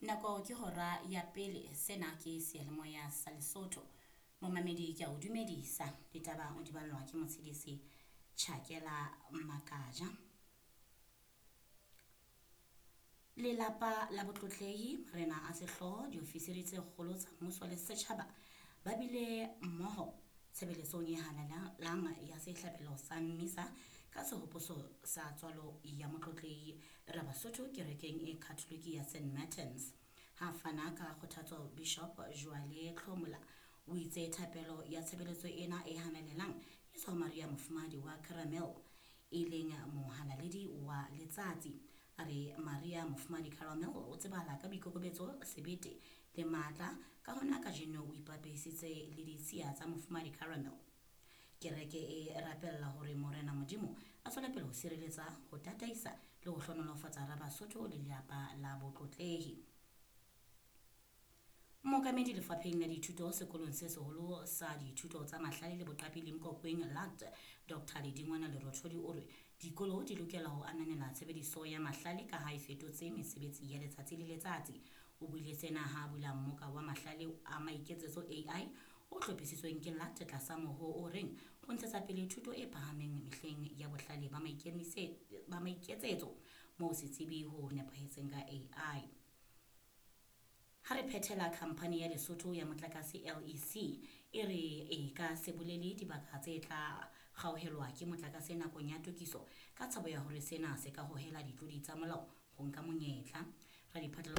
Nako ke hora ya pele, sena ke seyalemoya sa Lesotho. Momamedi ke a o dumedisa, ditaba o di ballwa ke motshedisi Tjhakela Makaja. Lelapa la botlotlehi, marena a sehlooho, diofisiri tse kgolo tsa mmuso le setjhaba ba bile mmoho tshebeletsong e halalelang ya sehlabelo sa mmisa ka sehopotso sa tswalo ya motlotlehi Rabasotho kerekeng e Khatholike ya St Martins. Ha fana ka kgothatso Bishop Joale Tlhomola o itse thapelo ya tshebeletso ena e halalelang e tswa ho Maria Mofumahadi wa Caramel e leng mohalaledi wa letsatsi. A re Maria Mofumahadi Caramel o tsebahala ka boikokobetso, sebete le matla, ka hona kajeno o ipapisitse le ditshiya tsa Mofumahadi Caramel. Kereke e rapella hore Morena Modimo a tswele pele ho sireletsa, ho tataisa le ho hlohonolofatsa Rabasotho le lelapa la botlotlehi. Mookamedi lefapheng la dithuto sekolong se seholo sa dithuto tsa mahlale le boqapi Limkokwing LAT, Dr. Ledingwana Lerothodi o re dikolo di lokela ho ananela tshebediso ya mahlale ka ha e fetotse mesebetsi ya letsatsi le letsatsi. O buile sena ha a bula mmoka wa mahlale a maiketsetso AI o hlophisitsweng ke LAT tlasa mohoo o reng ho ntshetsa pele thuto e phahameng mehleng ya bohlale ba maiketsetso moo setsebi ho nepahetseng ka AI. Ha re phethela khamphani ya Lesotho ya motlakase LEC e re e ka se bolele dibaka tse tla kgaohelwa ke motlakase nakong ya tokiso ka tshabo ya hore sena se ka hohela ditlodi tsa molao ho nka monyetla. Radiphatla